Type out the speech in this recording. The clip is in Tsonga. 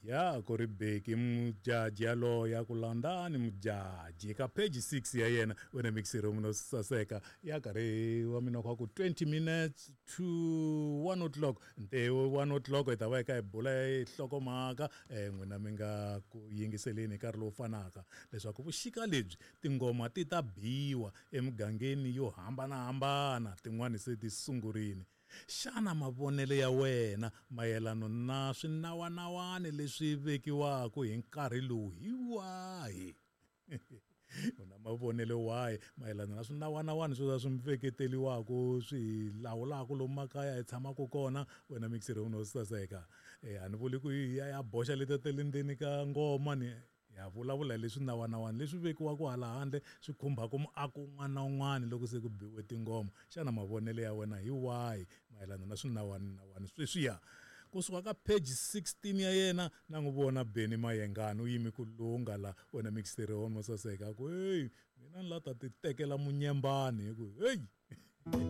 Ya ku ri Beki Mujaji yaloye a ku landzani Mujaji ka page 6 ya yena wena mixero muno saseka ya karhi wa mina kwa ku 20 minutes to 1 o'clock ntewu 1 o'clock hi ta va hi kha hi bula hi nhlokomhaka n'wina mi nga ku yingiseleni hi nkarhi lowu fanaka leswaku vuxika lebyi tingoma ti ta biwa emugangeni yo hambanahambana tin'wani se ti sungurile. Xana mavonelo ya wena mayelano na swinawanawani leswi vekiwaka hi nkarhi lowu hi wahi? U na mavonelo wahi mayelana na swinawanawani swo swi veketeriwaka swi hi lawulaka lomu makaya hi tshamaka kona wena mixere u saseka? A ni vuli ku hi ya ya boxa letiya ta le ndzeni ka ngoma ni ya vulavula hi leswi nawanawani leswi vekiwaka hala handle swi khumbaka muako un'wana na un'wana loko se ku biwe tingoma. Xana mavonelo ya wena hi wahi mayelana na swinawanawani sweswiya? Kusuka ka page 16 ya yena na n'wi vona Benny Mayengani u yime ku lungha la wena mixere wa mo saseka a ku heyi mina ni la ta ti tekela munyembani hi ku heyi.